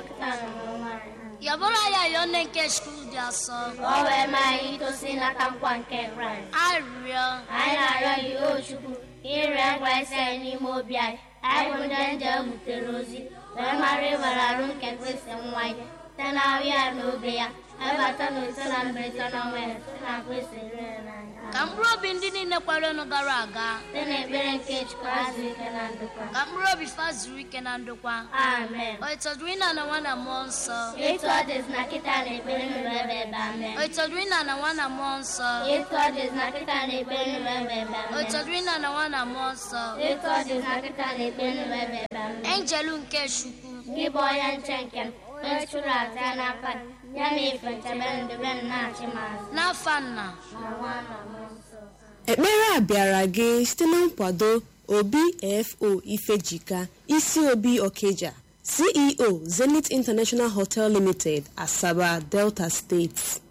kịta na ọnwa anyị. Yabụrụ ya yọọ nne nke Chukwu dị asọ. Ka ọ wee maa anyị itosi ịnata nkwa nke Kraịst. Arịrịọ. Anyị na-arịọ gị, o Chukwu, ka ịrịọ nkwa isi anyị n'ime obi anyị, anyị bụ ndị nje butere ozi, wee mara ịwere arụ nke Kristi nwa ya, site na ahụ ya na obe ya, webata na ise na mberede n'ọnwa ya, site na Kristi rere n'anya. Ka mkpụrụ obi ndị niile kwerenụ gara aga. Site n'ekpere nke Chukwu azụ ike na ndokwa. Ka mkpụrụ obi fa zuru ike na ndokwa. Amen. O ịtọdụrụ ịna na nwa na mmụọ nsọ. Etu ọ dịzị na kịta na ekpere nụrụ ebe ebe amen. O ịtọdụrụ ịna na nwa na mmụọ nsọ. Etu ọ dịzị na kịta na ekpere nụrụ ebe ebe O amen. ịtọdụrụ ịna na nwa na mmụọ nsọ. Etu ọ dịzị na kịta na ekpere nụrụ ebe ebe amen. Enjelu nke Chukwu. Gị bụ onye nche nke m, onye chụrụ aja n'aka gị, ya na ife nchebe ndebe m na-achị m azụ. N'afa nna. Na nwa na mmụọ nsọ. Ekpere a bịara gị site na nkwado Obi F.O. Ifejika, Isi Obi Okija, CEO, Zenith International Hotel Limited, Asaba, Delta State.